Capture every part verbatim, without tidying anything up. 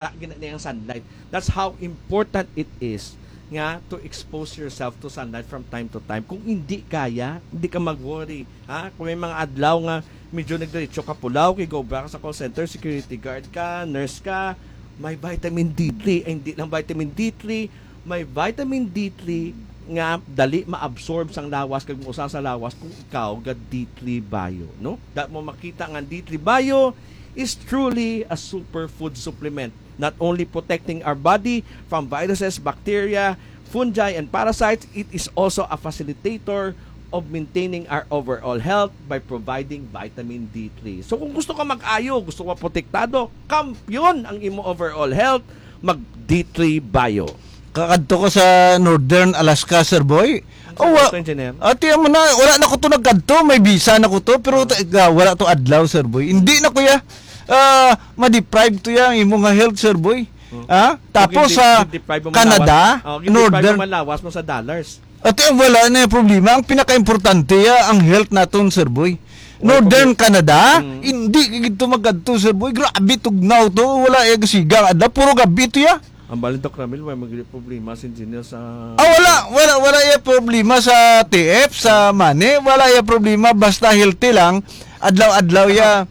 gina niya ang sunlight. That's how important it is nga to expose yourself to sunlight from time to time. Kung hindi kaya, hindi ka mag-worry. Ha? Kung may mga adlaw nga medyo nagdiretso ka pulaw, kay go back sa call center, security guard ka, nurse ka, may vitamin D three. Ay, hindi lang vitamin D three, may vitamin D three nga dali ma-absorb sang lawas kag mausa sa lawas kung ikaw ga D three Bio, no? Dat mo makita nga D three Bio is truly a superfood supplement, not only protecting our body from viruses, bacteria, fungi, and parasites, it is also a facilitator of maintaining our overall health by providing vitamin D three. So kung gusto ka mag-ayo, gusto ka protektado, kampiyon ang imo overall health, mag D three Bio. Kakadto ko sa Northern Alaska, Sir Boy. Ang Oh, wa- Ito, engineer. Ati mo na, wala na ko to nagkadto, may visa na ko to, pero ta- ga- wala to adlaw, Sir Boy. Hindi na, kuya. Ah, ma-deprive to ya ang imo nga health, Sir Boy. Hmm. Ha? Tapos Kung sa di-, deprive mo Canada, lawas, oh, kung deprive Northern mo lawas mo sa dollars. Ati ang wala na yung problema. Ang pinaka-importante ya, ang health naton, Sir Boy. Wala Northern problema. Canada, Mm. Hindi ka gito magkadto, Sir Boy. Grabe, tugnaw to. Wala yung siga. Ada, puro gabi to ya. Ang balin, Doc Ramil, may mag-, problema si engineer sa Ah, wala, wala, wala yung problema sa T F, sa money. Wala yung problema. Basta healthy lang. Adlaw-adlaw ya.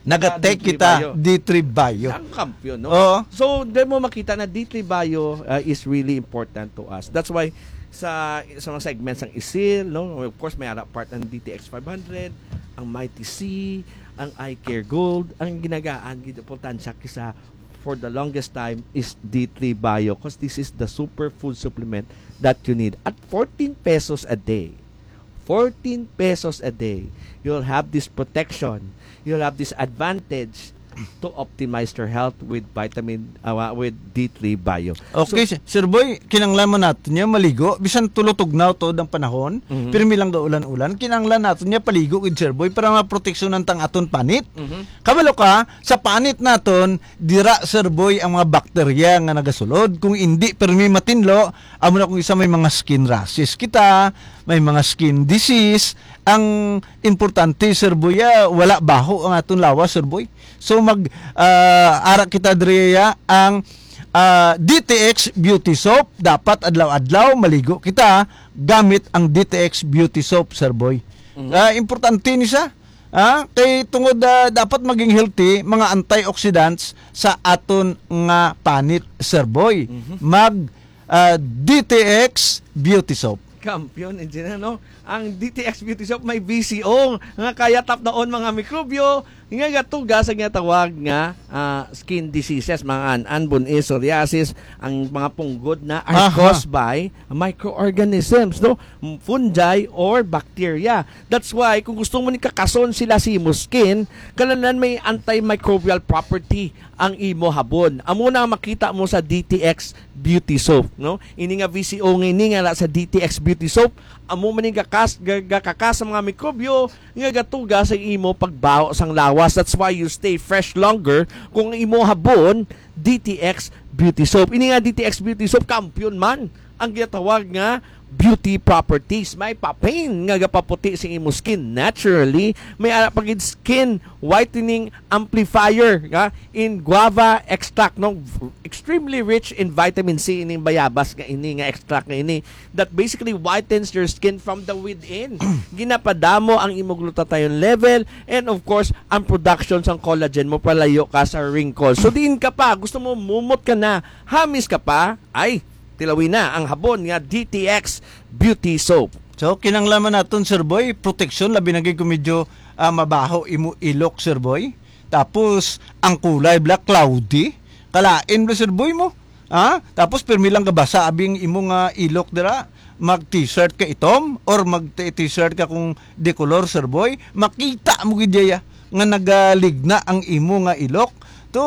Nag-take D three kita, Bio. D three Bio. Ang kampiyon, no? Oo. So, di mo makita na D three Bio, uh, is really important to us. That's why sa sa mga segments ng isil, no? Of course, may ara part ng D T X five hundred, ang Mighty C, ang Eye Care Gold, ang ginagaan, gid importansya kisa for the longest time is D three Bio, 'cause this is the superfood supplement that you need at fourteen pesos a day. Fourteen pesos a day. You'll have this protection. You'll have this advantage to optimize your health with vitamin, uh, with D three Bio. Okay, So, Sir Boy, kinanglan mo naton niya maligo. Bisan tulo tugnaw to ang panahon, Mhm. pirmi lang ga ulan-ulan. Kinanglan naton niya paligo with Sir Boy para maproteksyonan tang aton panit. Mhm. Kabalo ka, sa panit naton, dira, Sir Boy, ang mga bakterya nga nagasulod. Kung hindi pirmi matinlo, amo na kung isa may mga skin rashes kita, may mga skin disease. Ang importante, Sir Boy, ah, wala baho ang aton lawas, Sir Boy. So mag, ah, ara kita diri ya ang, ah, D T X Beauty Soap. Dapat adlaw-adlaw maligo kita gamit ang D T X Beauty Soap, Sir Boy. Mhm. Ah, importante ni siya. Ah, kay tungod, ah, dapat maging healthy mga antioxidants sa aton nga panit, Sir Boy. Mhm. Mag, ah, D T X Beauty Soap. Kampiyon, engineer, no? Ang D T X Beauty Soap may V C O nga kaya tapdaon mga mikrobyo nga gatuga sa ginatawag nga, ah, skin diseases, mga an-an, bun-is, psoriasis, ang mga punggod na are Aha. caused by microorganisms, no? Fungi or bacteria. That's why, kung gusto mo ni kakason sila sa imo skin, kailangan may antimicrobial property ang imo habon. Amo na ang makita mo sa D T X Beauty Soap, no? Ini nga V C O nga ini nga sa D T X Beauty Soap, amo man ning gakas, ga-, gakakas sa mga mikrobyo nga gatuga sa imo pagbaho sang lawas. That's why you stay fresh longer kung imo habon D T X Beauty Soap. Ini nga D T X Beauty Soap, kampiyon man ang ginatawag nga beauty properties. May papain nga gapaputi sa imo skin naturally. May ara pa gid skin whitening amplifier nga in guava extract, no? Extremely rich in vitamin C ining bayabas nga ini, nga extract nga ini, that basically whitens your skin from the within. Ginapadamo ang imo glutathione level and of course ang production sang collagen mo, palayo ka sa wrinkles. So diin ka pa, gusto mo mumot ka na, hamis ka pa, ay, tilawi na ang habon nga D T X Beauty Soap. So, kinanglan man naton, Sir Boy, protection, labi na gid kung medyo, ah, mabaho imo ilok, Sir Boy. Tapos, ang kulay, bla, cloudy. Kalain, bla, Sir Boy, mo. Ha? Tapos, pirmi lang gabasa, abi ang imo nga ilok dira. Mag-t-shirt ka itom or mag-t-shirt ka kung de color, Sir Boy. Makita mo gid ya nga nagaligna ang imo nga ilok. To,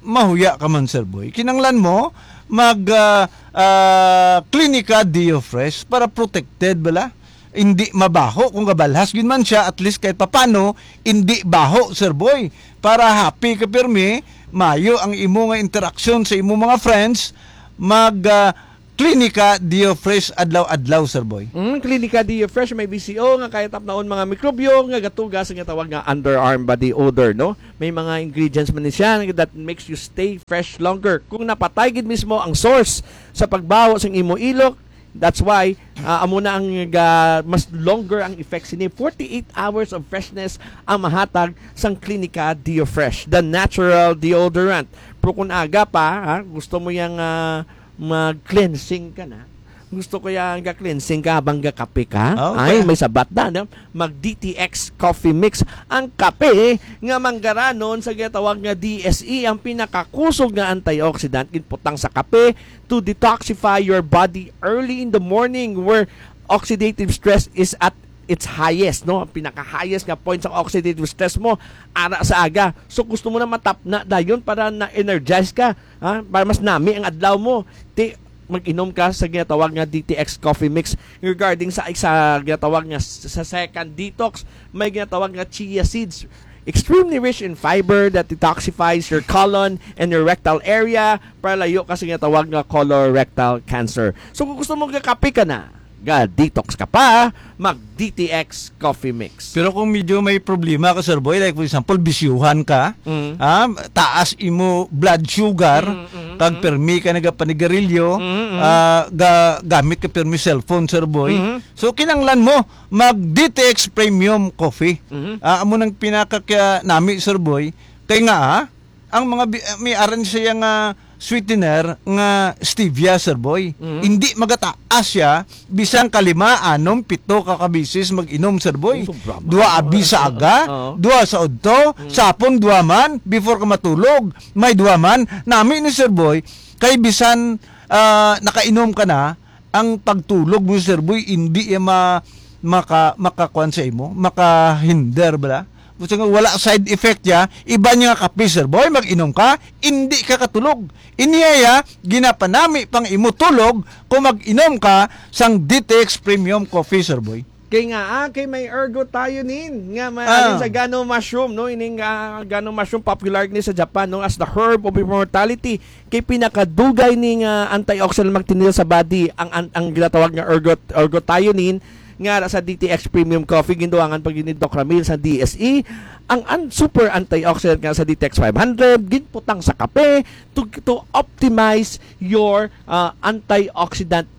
mahuya ka man, Sir Boy. Kinanglan mo mag, ah, ah, Clinica Deo Fresh para protected bala. Hindi mabaho kung gabalhas gyud man siya, at least kahit papano, hindi baho, Sir Boy. Para happy ka pirmi, mayo ang imo nga interaksyon sa imo mga friends, mag, ah, Klinika Dio Fresh adlaw-adlaw, Sir Boy. Mm, Klinika Dio Fresh may B C O nga kaya tapnaon mga mikrobyo nga gatuga sa ginatawag nga underarm body odor, no? May mga ingredients man ni siya that makes you stay fresh longer. Kung napatay gid mismo ang source sa pagbaho sang imo ilok, that's why, ah, amo na ang ga-, mas longer ang effects ini. Forty-eight hours of freshness ang mahatag sang Klinika Dio Fresh, the natural deodorant. Pero kung aga pa, ha, gusto mo yang, ah, mag-cleansing ka na. Gusto ko yang ga-cleansing ka habang gakape ka. Ah, okay. Ay, may sabat na, no? Mag D T X Coffee Mix. Ang kape nga manggaranon sa ginatawag nga D S E, ang pinakakusog nga antioxidant, ginputang sa kape to detoxify your body early in the morning where oxidative stress is at its highest, no? Ang pinaka-highest nga point sa oxidative stress mo, ara sa aga. So, gusto mo na matapna dayon para na-energize ka, ha? Para mas nami ang adlaw mo. Ti, mag-inom ka sa ginatawag nga D T X Coffee Mix. Regarding sa isa ginatawag nga s-, sa second detox, may ginatawag nga chia seeds. Extremely rich in fiber that detoxifies your colon and your rectal area para layo ka sa ginatawag nga colorectal cancer. So, kung gusto mo gakape ka na, ga-detox ka pa, mag D T X Coffee Mix. Pero kung medyo may problema ka, Sir Boy, like for example, bisyuhan ka, Mm. ah, taas imo blood sugar, Mm, mm, kag mm. permi ka nagapanigarilyo, Mm, mm. ah, ga-, gamit ka permi cellphone, Sir Boy. Mm. So, kinahanglan mo mag D T X Premium Coffee. Mm. Ah, amo nang pinaka kaya nami, Sir Boy. Kay nga, ah, ang mga bi-, may aran siya nga sweetener nga stevia, Sir Boy. Mm. Hindi magataas siya, bisan kalima, anom, pito ka kabisis mag-inom, Sir Boy. Oh, sobra man. Dua abi sa aga, Oo. dua sa udto, Mm. sa hapon, dua man, before ka matulog, may dua man. Nami ni Sir Boy, kay bisan, ah, nakainom ka na, ang pagtulog mo, Sir Boy, hindi iya ma-, maka-, makakuan sa imo, makahinder bala. Gusto nga wala side effect ya, iba niya nga kape, Sir Boy, mag-inom ka, hindi ka katulog. Iniya ya, ginapanami pang imo tulog kung mag-inom ka sang D T X Premium Coffee, Sir Boy. Kay nga, ah, kay may ergothioneine nga may Ah. alin sa gano mushroom, no? Ining, ah, gano mushroom popular ni sa Japan, no, as the herb of immortality. Kay pinakadugay ni nga antioxidant magtinil sa body ang, ang, ang ginatawag nga ergot-, ergothioneine nga sa D T X Premium Coffee, ginduangan pa gyud ni Doc Ramil sa D S E. Ang an-, super antioxidant nga sa D T X five hundred, ginputang sa kape to, to optimize your, ah, antioxidant,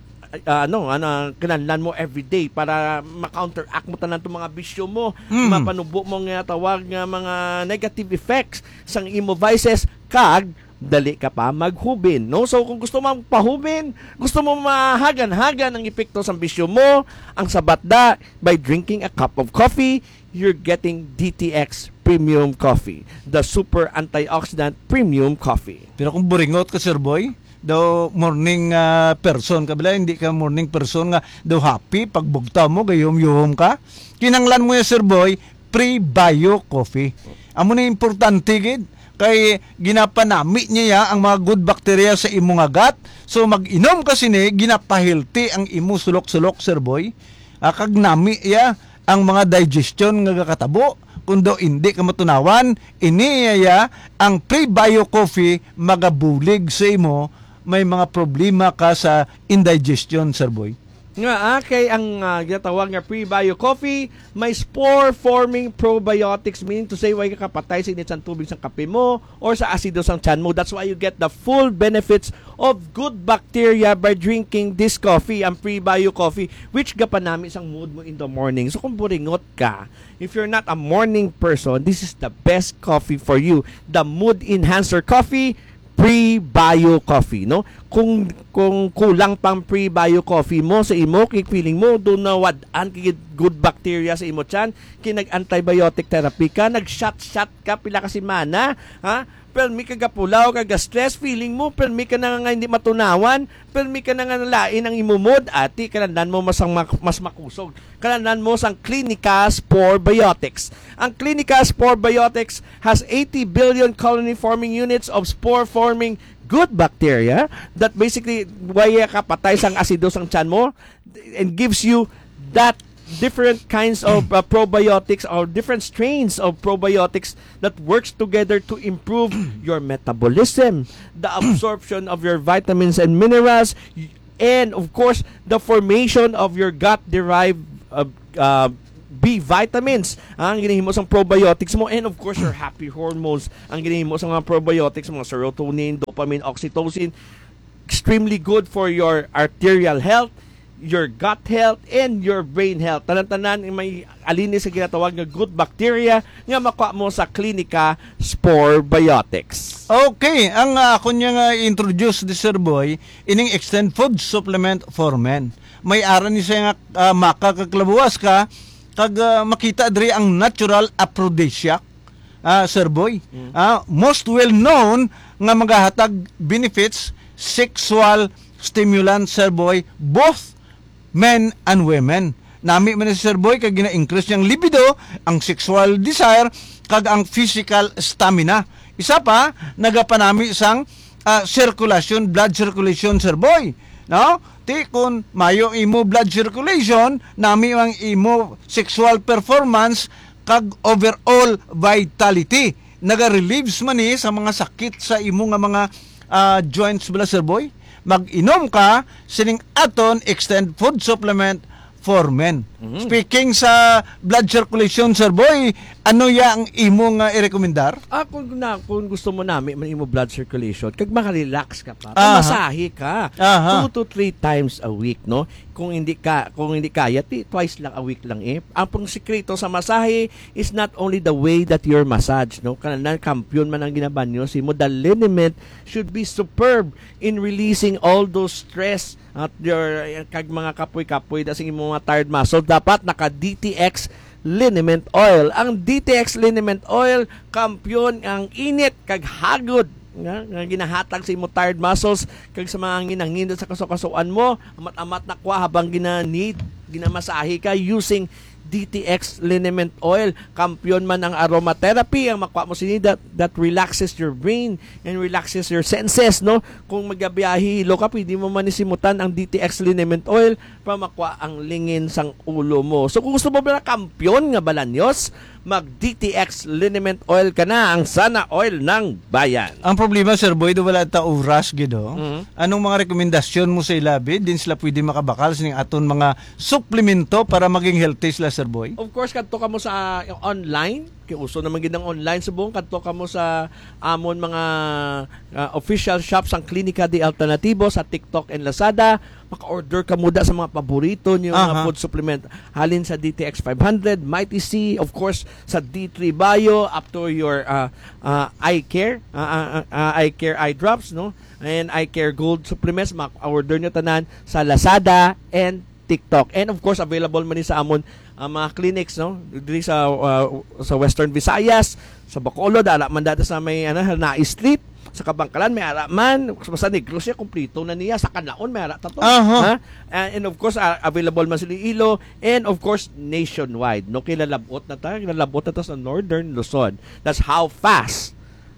ah, ano, ano, kinahanglan mo everyday para ma-counteract mo tanan tong mga bisyo mo, Mm. mapanubo mo nga tawag nga mga negative effects sang imo vices, kag dali ka pa maghubin, no? So, kung gusto mo magpahubin, gusto mo mahagan-hagan ang epekto sang bisyo mo, ang sabat da, by drinking a cup of coffee, you're getting D T X Premium Coffee, the super antioxidant premium coffee. Pero kung buringot ka, Sir Boy, daw morning, ah, person ka, bala, hindi ka morning person nga daw happy, pagbugtaw mo, gayom-yuhom ka, kinahanglan mo ya, Sir Boy, pre-bio coffee. Amo na importante gid, kay ginapanami niya ang mga good bacteria sa imo nga gut. So, mag-inom ka sini, ginapahealthy ang imo sulok-sulok, Sir Boy. Ah, kag nami iya ang mga digestion nga gakatabo. Kung daw hindi ka matunawan, ini iya ang pre-bio coffee magabulig sa imo, may mga problema ka sa indigestion, Sir Boy. Nga, ah, kay ang, ah, ginatawag nga pre-bio coffee, may spore-forming probiotics, meaning to say, way ka kapatay sa init sang tubig sang kape mo or sa asido sang tiyan mo. That's why you get the full benefits of good bacteria by drinking this coffee, ang pre-bio coffee, which gapanami sang mood mo in the morning. So, kung buringot ka, if you're not a morning person, this is the best coffee for you. The mood enhancer coffee, pre-bio coffee, no? Kung, kung kulang pang pre-bio coffee mo sa imo, kay feeling mo, doon na wad-an kay good bacteria sa imo tiyan, kay nag-antibiotic therapy ka, nag-shot-shot ka pila ka semana, ha? Permi ka gapulaw, ka ga-stress, feeling mo, permi ka na nga hindi matunawan, permi ka na nga nalain ang imo mood, ati, kinahanglan mo mas, ang mak-, mas makusog. Kinahanglan mo sang Clinicas Probiotics. Ang Clinicas Probiotics has eighty billion colony-forming units of spore-forming good bacteria that basically way kapatay sang asido sang tiyan mo and gives you that different kinds of, uh, probiotics or different strains of probiotics that works together to improve your metabolism, the absorption of your vitamins and minerals, y-, And of course, the formation of your gut-derived uh, uh, B vitamins, ah, ang ginahimo sang probiotics mo, and of course, your happy hormones, ang ginahimo sa mga probiotics, mga serotonin, dopamine, oxytocin, extremely good for your arterial health, your gut health, and your brain health. Tanan-tanan may alinis sa ginatawag nga good bacteria nga makuha mo sa Klinika Spore Biotics. Okay, ang ah, ako niya nga introduce di Sir Boy, ining Extend Food Supplement for Men. May ara ni siya nga ah, maka kag labuwas ka, kag ah, makita diri ang natural aphrodisiac, ah, Sir Boy. Mm. Ah, most well known nga magahatag benefits, sexual stimulant, Sir Boy, both men and women. Nami man ni Sir Boy kay gina-increase niyang libido, ang sexual desire, kag ang physical stamina. Isa pa, nagapanami sang ah, circulation, blood circulation, Sir Boy. No? Ti kun mayo imo blood circulation, nami ang imo sexual performance kag overall vitality. Naga-relieves man ni sa mga sakit sa imo nga mga ah, joints bala, Sir Boy. Mag-inom ka sining aton Extend Food Supplement for Men. Mhm. Speaking sa blood circulation, Sir Boy, ano ya ang imo nga i-recommendar? Ah, kung na, kung gusto mo nami man imo blood circulation, kag makarelax ka pa, Aha. pamasahe ka Aha. two to three times a week, no? Kung hindi ka, kung hindi kaya, ti, twice lang a week lang eh. Ang pang sikreto sa masahe is not only the way that you're massaged, no? Kanang kampiyon man ang ginabanyo, si mo, the liniment should be superb in releasing all those stress at your, kag mga kapoy-kapoy da sing imong mga tired muscle. Dapat naka D T X liniment oil. Ang D T X liniment oil, kampiyon ang init kag hagod nga, nga ginahatag sa imong tired muscles kag sa mga nginanginot sa kasukasuan mo. Amat-amat na kwa habang gina-need, ginamasahe ka using D T X liniment oil. Kampiyon man ang aromatherapy, ang makuha mo sini that, that relaxes your brain and relaxes your senses, no? Kung magabiyahe hilo ka, pwede mo manisimutan ang D T X liniment oil para makuha ang lingin sang ulo mo. So kung gusto mo ba na kampiyon nga balanyos, mag D T X liniment oil ka na, ang sana oil ng bayan. Ang problema, Sir Boy, do wala ta oras gid, oh. Mhm. Anong mga rekomendasyon mo sa ilabi? Din sila pwede makabakal sining aton mga suplemento para maging healthy sila, Sir Boy? Of course, kadto ka mo sa online. Kay uso naman gid ang online subong. Kadto ka mo sa amon mga ah, official shop sang Klinika de Alternativo sa TikTok and Lazada. Maka-order ka muda sa mga paborito niyo nga Aha. food supplement. Halin sa D T X five hundred, Mighty C, of course, sa D three Bio, up to your ah, ah, eye care, ah, ah, ah, eye care eye drops, no? And eye care gold supplements, ma-order nyo tanan sa Lazada and TikTok. And of course, available man ni sa amon ang mga clinics, no? Diri sa ah, sa Western Visayas, sa Bacolod, ara man dati sa may ano, Hanai Street, sa Kabangkalan, may ara man, sa Negros siya, kumplito na niya, sa Canlaon, may ara ta to. Aha. Ha? And, and of course, ah, available man sa Iloilo, and of course, nationwide, no? Kilalabot na ta, kilalabot na ta sa Northern Luzon. That's how fast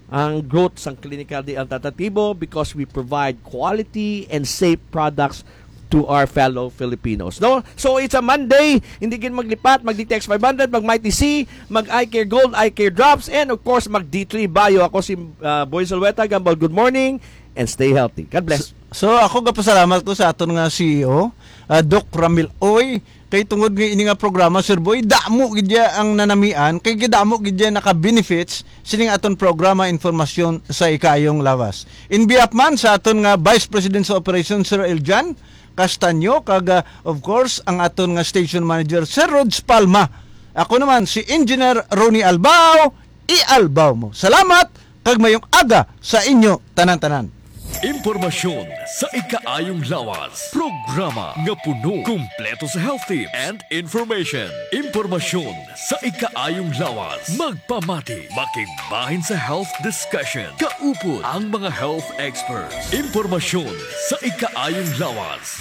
ang growth sang Clinical de Alternativo because we provide quality and safe products to our fellow Filipinos. No? So, it's a Monday, hindi gid maglipat, mag D T X five hundred, mag Mighty C, mag Eye Care Gold, Eye Care Drops, and of course, mag D three Bio. Ako si uh, Boy Zulueta Gambal. Good morning and stay healthy. God bless. So, so ako gapasalamat ko sa aton nga C E O, uh, Doc Ramil Oy, kay tungod nga ini nga programa, Sir Boy, damo gid ya ang nanamian, kay gidamo gid ya naka-benefits sining aton programa, Informasyon sa Ikaayong Lawas. In behalf man sa aton nga Vice President sa Operation, Sir Eljan Castaño, kag ah, of course, ang aton nga station manager, Sir Rods Palma. Ako naman si Engineer Ronnie Albao, i-Albao mo. Salamat, kag mayong aga sa inyo tanan-tanan. Impormasyon sa ikaayong lawas. Programa nga puno, kumpleto sa health tips and information. Impormasyon sa ikaayong lawas. Magpamati, makigbahin sa health discussion. Kaupod ang mga health experts. Impormasyon sa ikaayong lawas.